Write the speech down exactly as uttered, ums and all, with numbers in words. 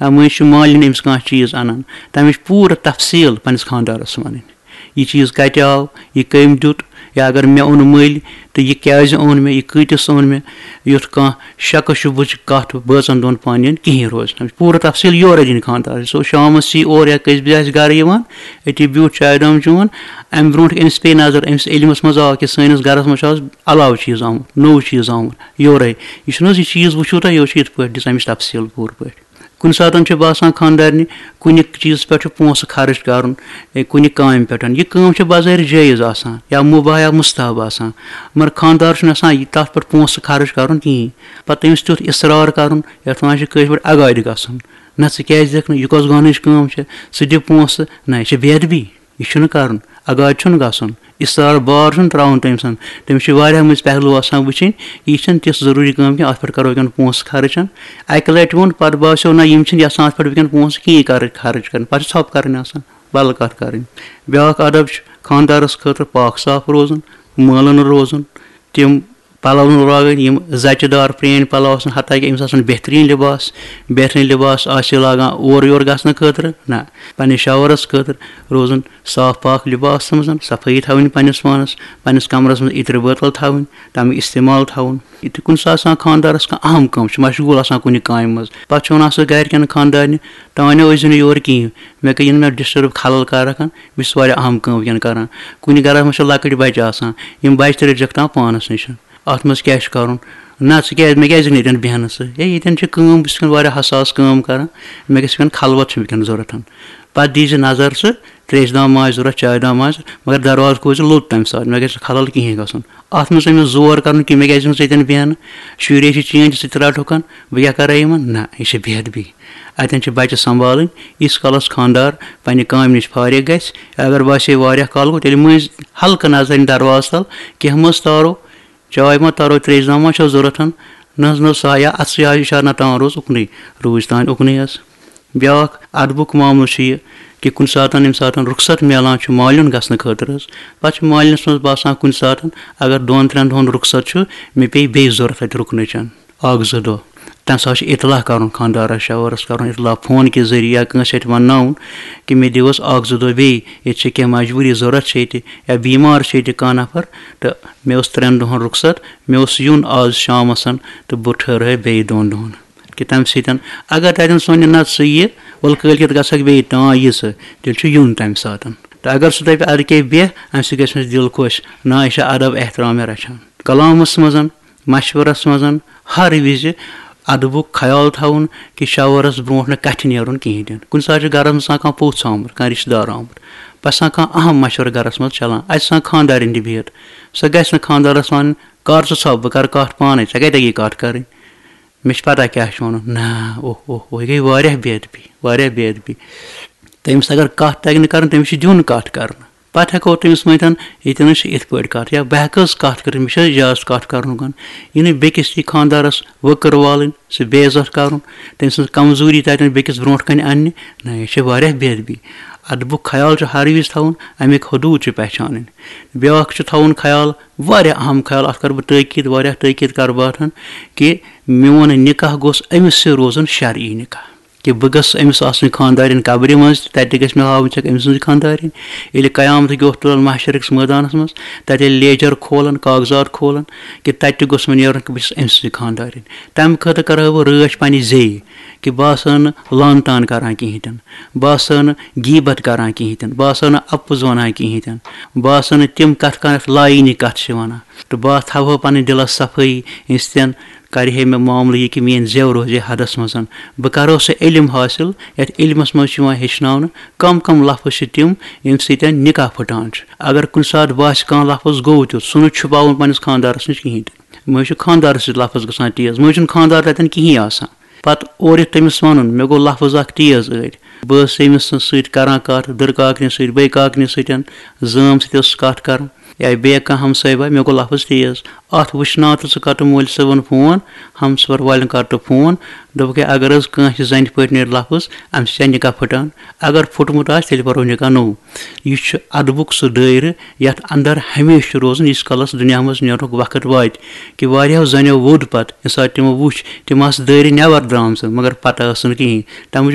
یا مٔنٛزۍ چھُ مالِنۍ أمِس کانٛہہ چیٖز اَنان، تَمِچ پوٗرٕ تفصیٖل پنٛنِس خانٛدارَس وَنٕنۍ۔ یہِ چیٖز کَتہِ آو، یہِ کٔمۍ دیُت، یا اگر مےٚ اوٚن مٔلۍ تہٕ یہِ کیٛازِ اوٚن مےٚ، یہِ کۭتِس اوٚن مےٚ، یُتھ کانٛہہ شکہٕ شُبہٕچ کَتھ بٲژَن دۄن پانہٕ یَن کِہیٖنۍ روزِ نہٕ۔ پوٗرٕ تفصیٖل یورَے دِنۍ خانٛدارَس۔ سُہ شامَس یی اورٕ یا کٔژِ بجہِ آسہِ گَرٕ یِوان، أتی بیوٗٹھ چایہِ دام چیوٚن، اَمہِ برونٛٹھ أمِس پیٚیہِ نظر، أمِس علمَس منٛز آو کہِ سٲنِس گَرَس منٛز چھُ آز علاوٕ چیٖز آمُت، نوٚو چیٖز آمُت یورَے۔ یہِ چھُنہٕ حظ یہِ چیٖز وٕچھِو تۄہہِ، یہِ چھُ یِتھ پٲٹھۍ دِژ اَمِچ تفصیٖل پوٗرٕ پٲٹھۍ۔ کُنہِ ساتَن چھُ باسان خانٛدارنہِ کُنہِ چیٖزَس پٮ۪ٹھ چھُ پونٛسہٕ خرٕچ کَرُن، اے، کُنہِ کامہِ پٮ۪ٹھ۔ یہِ کٲم چھِ بظٲہِر جٲیِز آسان یا مُباح یا مُستحب آسان، مگر خانٛدار چھُنہٕ آسان یہِ تَتھ پٮ۪ٹھ پونٛسہٕ خرٕچ کَرُن کِہیٖنۍ۔ پَتہٕ تٔمِس تیُتھ اِصرار کَرُن، یَتھ وَنان چھِ کٲشِر پٲٹھۍ اَگادِ گژھُن۔ نہ، ژٕ کیٛازِ دِکھ نہٕ؟ یہِ کۄس گۄنہٕچ کٲم چھِ؟ ژٕ دِ پونٛسہٕ۔ نہ، یہِ چھِ بے ادبی۔ یہِ چھُنہٕ کَرُن، اَگادِ چھُنہٕ گژھُن، اِصرار بار چھُنہٕ ترٛاوُن تٔمۍ سُنٛد۔ تٔمِس چھِ واریاہ مٔنٛزۍ پہلو آسان وٕچھِنۍ، یہِ چھَنہٕ تِژھ ضروٗری کٲم کینٛہہ، اَتھ پٮ۪ٹھ کَرو وٕنکٮ۪ن پونٛسہٕ خرٕچ۔ اَکہِ لَٹہِ ووٚن، پَتہٕ باسیو نہ، یِم چھِنہٕ یَژھان اَتھ پٮ۪ٹھ وٕنکٮ۪ن پونٛسہٕ کِہیٖنۍ کَرٕنۍ، خرٕچ کَرٕنۍ، پَتہٕ چھِ ژھۄپہٕ کَرٕنۍ آسان، بدل کَتھ کَرٕنۍ۔ بیٛاکھ ادب چھُ خانٛدارَس خٲطرٕ پاک صاف روزُن، مٲلہٕ نہٕ روزُن، تِم پَلو نہٕ لاگٕنۍ یِم زَچہِ دار پرٛٲنۍ پَلو آسَن، حتیٰ کہِ أمِس آسَن بہتریٖن لِباس، بہتریٖن لِباس آسہِ یہِ لاگان اورٕ یورٕ گژھنہٕ خٲطرٕ، نہ، پنٛنِس شوہرَس خٲطرٕ روزُن صاف پاک لِباسَس منٛز، صفٲیی تھاوٕنۍ پنٛنِس پانَس، پنٛنِس کَمرَس منٛز عطرِ بٲتَل تھاوٕنۍ، تَمیُک استعمال تھاوُن۔ یہِ تہِ کُنہِ ساتہٕ آسان خانٛدارَس کانٛہہ اہم کٲم، چھُ مشغوٗل آسان کُنہِ کامہِ منٛز، پَتہٕ چھُ وَنان سُہ گَرِکٮ۪ن خانٛدارنہِ، "تانیو ٲسۍزیو نہٕ یور کِہیٖنۍ، مےٚ گٔے یِنہٕ مےٚ ڈِسٹٔرٕب خلل کار رَکھان، بہٕ چھُس واریاہ اہم کٲم وٕنکٮ۪ن کَران۔" کُنہِ گَرَس منٛز چھِ لۄکٕٹۍ بَچہِ آسان، یِم بَچہِ تہِ رٔٹۍزیوکھ تام پانَس نِش۔ اَتھ منٛز کیٛاہ چھُ کَرُن؟ نہ، ژٕ کیٛازِ، مےٚ کیٛازِ نہٕ ییٚتٮ۪ن بیٚہنہٕ ژٕ؟ ہے، ییٚتٮ۪ن چھِ کٲم، بہٕ چھُس وٕنکٮ۪ن واریاہ حساس کٲم کَران، مےٚ گژھِ وٕنکٮ۪ن خلوت چھِ وٕنکٮ۪ن ضوٚرَتھ۔ پَتہٕ دیٖزِ نظر ژٕ، ترٛیشہِ دام ما آسہِ ضوٚرَتھ، چایہِ دام ما آسہِ، مگر دروازٕ کھوٗلۍ زِ لوٚت تَمہِ ساتہٕ، مےٚ گژھِ خلل کِہیٖنۍ گژھُن۔ اَتھ منٛز أمِس زور کَرُن کہِ مےٚ کیٛازِ چھُنہٕ ژٕ ییٚتٮ۪ن بیٚہنہٕ؟ شُرۍ ٲسۍ چٲنۍ تہٕ ژٕ تہِ رَٹہوکھَن، بہٕ کیٛاہ کَرٕ یِمَن؟ نہ، یہِ چھِ بے ادبی۔ اَتٮ۪ن چھِ بَچہِ سنبھالٕنۍ۔ ییٖتِس کالَس خانٛدار پنٛنہِ کامہِ نِش فارغ گژھِ، اگر باسے واریاہ کال گوٚو، تیٚلہِ مٔنٛزۍ ہلکہٕ نظرِ دروازٕ تَل، کینٛہہ مہ تارو، چاے ما تارو، ترٛیشہِ دام ما چھو ضوٚرَتھ؟ نہ حظ، نہ حظ، سا یا اَتھ سۭتۍ آیہِ اِشارٕ، نہ تام روز اُکنُے، روٗزۍ تام اُکنُے حظ۔ بیٛاکھ اَدبُک معاملہٕ چھُ یہِ کہِ کُنہِ ساتَن، ییٚمہِ ساتَن رُخصت میلان چھُ مالیُن گژھنہٕ خٲطرٕ حظ، پَتہٕ چھُ مالیُنَس منٛز باسان کُنہِ ساتَن، اگر دۄن ترٛٮ۪ن دۄہَن رُخصت چھُ، مےٚ پیٚیہِ بیٚیہِ ضوٚرَتھ اَتہِ رُکنٕچَن اَکھ زٕ دۄہ۔ تَمہِ ساتہٕ چھُ اطلاع کَرُن خانٛدارَس، شوہرَس کَرُن اطلاع فون کہِ ذٔریعہٕ یا کٲنٛسہِ اَتہِ وَنناوُن کہِ مےٚ دِیِو حظ اَکھ زٕ دۄہ بیٚیہِ، ییٚتہِ چھِ کینٛہہ مجبوٗری ضوٚرَتھ چھِ ییٚتہِ یا بیمار چھِ ییٚتہِ کانٛہہ نفر، تہٕ مےٚ اوس ترٛٮ۪ن دۄہَن رُخصت، مےٚ اوس یُن آز شامَس تہٕ بہٕ ٹھٔہرٕ بیٚیہِ دۄن دۄہَن۔ کہِ تَمہِ سۭتۍ اگر تَتٮ۪ن سونہِ نہ ژٕ یہِ، وَلہٕ کٲلۍکٮ۪تھ گژھکھ بیٚیہِ، تام یہِ ژٕ، تیٚلہِ چھُ یُن تَمہِ ساتہٕ۔ تہٕ اگر سُہ دَپہِ اَدٕ کیٛاہ بیٚہہ، اَمہِ سۭتۍ گژھِ مےٚ دِل خۄش، نہ، یہِ چھِ ادب احترام مےٚ رَچھان۔ کلامَس منٛز، مَشوَرَس منٛز ہر وِزِ ادبُک خیال تھاوُن کہِ شوہرَس برونٛٹھ نہٕ کَتھِ نیرُن کِہیٖنۍ تہِ نہٕ۔ کُنہِ ساتہٕ چھُ گَرَس منٛز آسان کانٛہہ پوٚژھ آمُت، کانٛہہ رِشتہٕ دار آمُت، پَتہٕ چھُ آسان کانٛہہ اَہَم مَشوَرٕ گَرَس منٛز چَلان، اَتہِ چھُ آسان خانٛدارِنۍ تہِ بِہِتھ، سۄ گژھِ نہٕ خانٛدارَس وَنٕنۍ، "کر ژٕ ژھۄپ، بہٕ کَرٕ کَتھ پانَے، ژےٚ کَتہِ تَگی کَتھ کَرٕنۍ؟" مےٚ چھِ پَتہ کیٛاہ چھُ وَنُن۔ نہ، اوہ، اوہ، اوہ، یہِ گٔے واریاہ بے ادبی، واریاہ بے ادبی۔ تٔمِس اگر کَتھ تَگہِ نہٕ کَرٕنۍ، تٔمِس چھُ دیُن کَتھ کَرنہٕ۔ پَتہٕ ہٮ۪کو تٔمِس ؤنِتھ، "ییٚتٮ۪ن حظ چھِ یِتھ پٲٹھۍ کَتھ"، یا "بہٕ ہٮ۪کہٕ حظ کَتھ کٔرِتھ، مےٚ چھِ حظ اِجازت کَتھ کَرنُک؟" یہِ نہٕ بیٚکِس یی خانٛدارَس وٕکٕر والٕنۍ، سُہ بے عزت کَرُن، تٔمۍ سٕنٛز کمزوٗری تَتٮ۪ن بیٚکِس برونٛٹھ کَنہِ اَننہِ۔ نہ، یہِ چھِ واریاہ بے ادبی۔ ادبُک خیال چھُ ہر وِزِ تھاوُن، اَمِکۍ حدوٗد چھِ پہچانٕنۍ۔ بیٛاکھ چھُ تھاوُن خیال، واریاہ اہم خیال، اَتھ کَرٕ بہٕ تٲکیٖد، واریاہ تٲکیٖد کَرٕ بہٕ اَتھ، کہِ میون نِکاح گوٚژھ أمِس سۭتۍ روزُن شرعی نِکاح، کہِ بہٕ گژھٕ أمِس آسٕنۍ خانٛدارِنۍ قبرِ منٛز تہِ، تَتہِ تہِ گژھِ مےٚ ہاوٕنۍ ژےٚ أمۍ سٕنٛز خانٛدارِنۍ۔ ییٚلہِ قیامتٕکۍ دۄہ تُلَن محشرٕکِس مٲدانَس منٛز، تَتہِ ییٚلہِ لیجَر کھولَن، کاغذات کھولَن، کہِ تَتہِ تہِ گوٚژھ مےٚ نیرُن کہِ بہٕ چھُس أمۍ سٕنٛز خانٛدارِنۍ۔ تَمہِ خٲطرٕ کَرٕ ہا بہٕ رٲچھ پنٛنہِ زیٚیہِ، کہِ بہٕ آسہٕ ہا نہٕ لان تان کَران کِہیٖنۍ تہِ نہٕ، بہٕ آسہٕ ہا نہٕ غیٖبت کَران کِہیٖنۍ تہِ نہٕ، بہٕ آسہٕ ہا نہٕ اَپُز وَنان کِہیٖنۍ تہِ نہٕ، بہٕ آسہٕ ہا نہٕ تِم کَتھٕ کَران یَتھ لایِنی کَتھٕ چھِ وَنان۔ تہٕ بہٕ تھاوہو پنٕنۍ دِلس صفٲیی، یِتھ سۭتۍ کرِ ہے مےٚ معاملہٕ یہِ کہِ میٲنۍ زٮ۪و روزِ ہے حدس منٛز۔ بہٕ کرو سُہ علم حٲصِل یتھ علمس منٛز چھُ یِوان ہیٚچھناونہٕ کم کم لفظ چھِ تِم ییٚمہِ سۭتۍ نکاح پھٹان چھُ۔ اگر کُنہِ ساتہٕ باسہِ کانٛہہ لفظ گوٚو تیُتھ، سُہ نہٕ چھُپاوُن پننِس خانٛدارس نِش کِہینۍ تہِ۔ مٔنٛزۍ چھُ خانٛدارس سۭتۍ لفظ گژھان تیز، مٔنٛزۍ چھُنہٕ خانٛدار تتٮ۪ن کِہینۍ آسان۔ پتہٕ اورٕ یِتھ تٔمِس وَنُن، مےٚ گوٚو لفظ اکھ تیز أڑۍ۔ بہٕ ٲسٕس أمِس سۭتۍ کران کتھ، دٕرکاکنہِ سۭتۍ، بیٚیہِ کاکنہِ سۭتۍ، زٲم سۭتۍ ٲسٕس کتھ کران۔ یا بیٚیہِ کانٛہہ ہمساے بھاے، مےٚ گوٚو لفظ تیز، اَتھ وٕچھناو تہٕ ژٕ کر تہٕ مٲلۍ صٲبن فون، ہمسفر والٮ۪ن کر تہٕ فون، دوٚپُکھ ہے اگر حظ کٲنٛسہِ زنہِ پٲٹھۍ نیرِ لفظ، اَمہِ سۭتۍ چھےٚ نکاح پھٕٹان۔ اگر پھُٹمُت آسہِ تیٚلہِ پرو نکاح نوٚو۔ یہِ چھُ ادبُک سُہ دٲیرٕ یتھ اندر ہمیشہِ چھُ روزُن ییٖتِس کالس دُنیاہس منٛز نیرنُک وقت واتہِ، کہِ واریاہو زنیو ووٚد پتہٕ ییٚمہِ ساتہٕ تِمو وُچھ تِم آسہٕ دٲیرٕ نٮ۪بر درامژٕ مگر پتہ ٲس نہٕ کِہیٖنۍ۔ تمہِ